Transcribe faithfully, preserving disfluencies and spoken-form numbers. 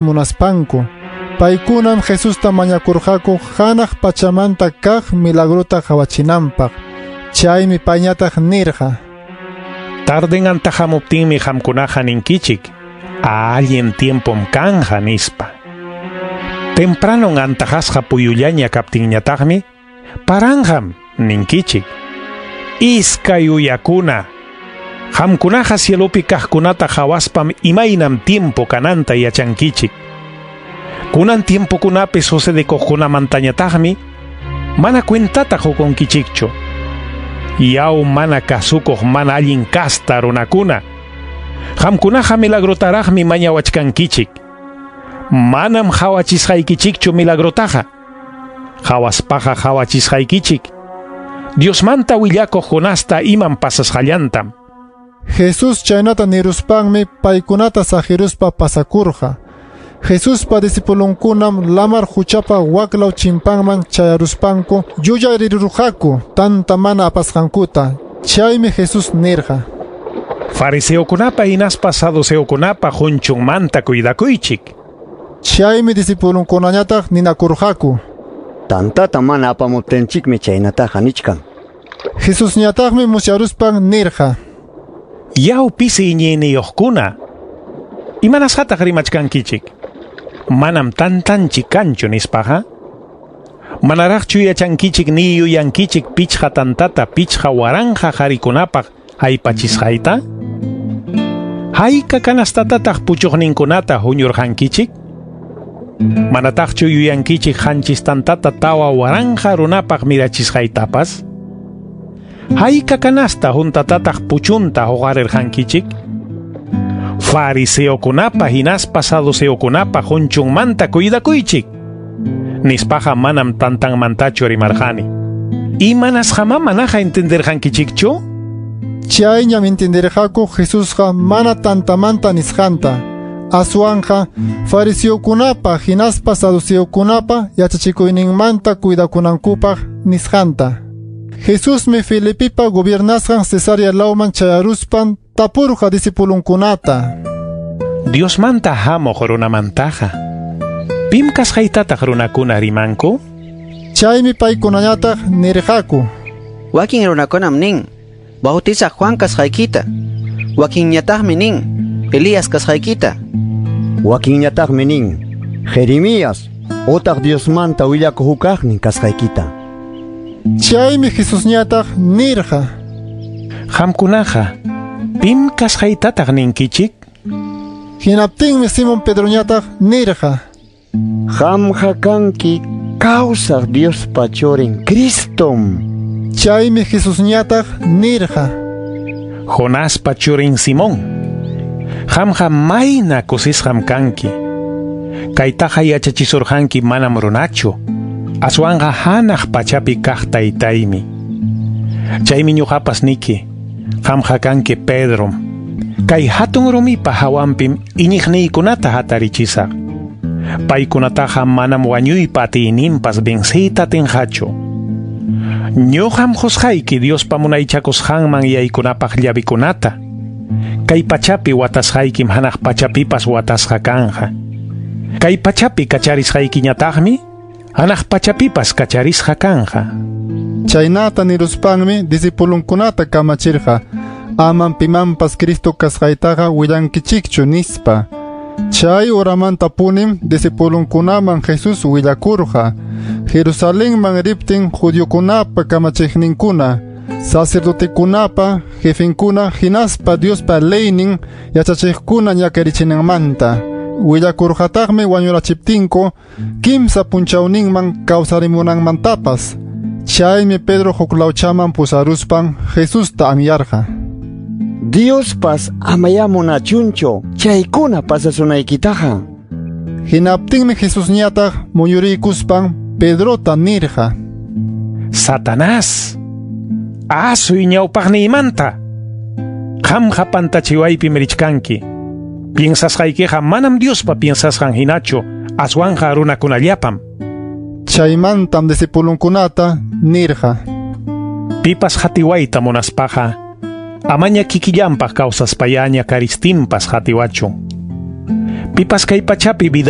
Munaspanku. Paykunam Jesusta mañakurqaku hanaq pachamanta kaq milagrota qawachinanpaq. Chaymi payñataq nirqa: Tarden antahamuptinmi qamkunaqa ninkichik, allin tiempom kanja nispa. Tempranon antajasqa puyullaña kaptinñataqmi, paranjam ninkichik. Iskay uyakuna. Qamkunaqa cielopi kaqkunata qawaspam imaynam tiempo kananta yachankichik. Kunan tiempokunapi sucedekuqkunamantañataqmi mana cuentata qukunkichikchu. Yaw mana kasukuq mana allin kasta runakuna. Qamkunaqa milagrotaraqmi mañawachkankichik. Manam qawachisqaykichikchu milagrotaqa. Qawaspaqa qawachisqaykichik. Diosmanta willakuq Jonasta imam pasasqallantam. Jesús chaynata niruspanmi paykunata saqiruspa pasakurqa. Jesuspa discipulunkunam lamar huchapa waklaw chimpanman chayaruspanku yuyarirurqaku tanta mana apasqankuta. Chaymi Jesús nirqa: Fariseokunapa hinaspa saduceokunapa qunchunmanta cuidakuychik. Chaymi discipulunkunañataq ninakurqaku: Tantata mana apamuptinchikmi chaynataqa nichkan. Jesusñataqmi musyaruspan nirqa: Yaw pisi iñiyniyuqkuna, imanasqataq rimachkankichik? Manam tantanchik kanchu nispaqa. Manaraqchu yachankichik ni yuyankichik pichqa tantata pichqa waranqa qharikunapaq aypachisqayta? Hayka kanastatataq puchuqninkunata huñurqankichik? Manataqchu yuyankichik qanchis tantata tawa waranqa runapaq mirachisqaytapas? Hayka kanasta huntatataq puchunta huqarirqankichik? Fariseokunapa hinaspa saduceokunapa qunchunmanta cuidakuychik. Nispaqa manam tantanmantachu rimarqani. Imanasqamá manaqa entenderqankichikchu? Chayñam entenderqaku Jesusqa mana tantamanta nisqanta. Aswanqa fariseokunapa hinaspa saduceokunapa yachachikuyninmanta cuidakunankupaq nisqanta. Jesusmi Filipipa gobiernasqan Cesarea lawman chayaruspan tapurqa discipulunkunata: Diosmanta hamuq runamantaqa, pim kasqaytataq runakuna rimanku? Chaymi paykunañataq nirqaku: Wakin runakunam nin, Bautizaq Juan kasqaykita. Wakinñataqmi nin, Elías kasqaykita. Wakinñataqmi nin, Jeremías otaq Diosmanta willakuq hukaqnin kasqaykita. Chaymi Jesusñataq nirqa: Qamkunaqa, pim kasqaytataq ninkichik? Hinaptinmi Simón Pedroñataq nirqa: Qamqa kanki kawsaq Diospa churin Cristom. Chaymi Jesusñataq nirqa: Jonaspa churin Simón, qamqa mayna kusisqam kanki. Kaytaqa yachachisurqanki manam runachu, aswanqa hanaq pachapi kaq taytaymi. Chaymi ñuqapas niki, qamqa kanki Pedrom. Kay hatun rumipa hawanpim iñiqniykunata hatarichisaq. Paykunataqa manam wañuypa atiyninpas venciyta atinqachu. Ñuqam qusqayki Diospa munaychakusqanman yaykunapaq llavikunata. Kay pachapi watasqaykim hanaq pachapipas watasqa kanja. Kay pachapi kacharisqaykiñataqmi hanaq pachapipas kacharisqa kanja. Chaynata niruspanmi discipulunkunata kamachirqa: amam pimanpas Cristo kasqaytaqa willankichikchu nispa. Chay horamanta punim discipulunkunaman Jesús willakurqa. Jerusalenman riptin judiokunapa kamachiqninkuna, sacerdotekunapa jefenkuna hinaspa Diospa leynin yachachiqkuna ñakarichinanmanta. Willakurqataqmi wañurachiptinku kimsa punchawninman kawsarimunanmantapas. Chaymi Pedro huklawchaman pusaruspan Jesusta anyarqa: Diospas amaya munachunchu chaykuna pasasunaykitaqa. Hinaptinmi Jesusñataq muyuriykuspan Pedrota nirqa: Satanás, asuy ñawpaqniymanta. Qamqa pantachiwaypim richkanki. Piensasqaykiqa manam Diospa piensasqan hinachu, aswanqa runakunallapam. Chaymantam discipulunkunata nirqa: Pipas hatiwayta munaspaqa, amaña kikillanpaq kawsaspayaña karistinpas hatiwachun. Pipas kay pachapi vida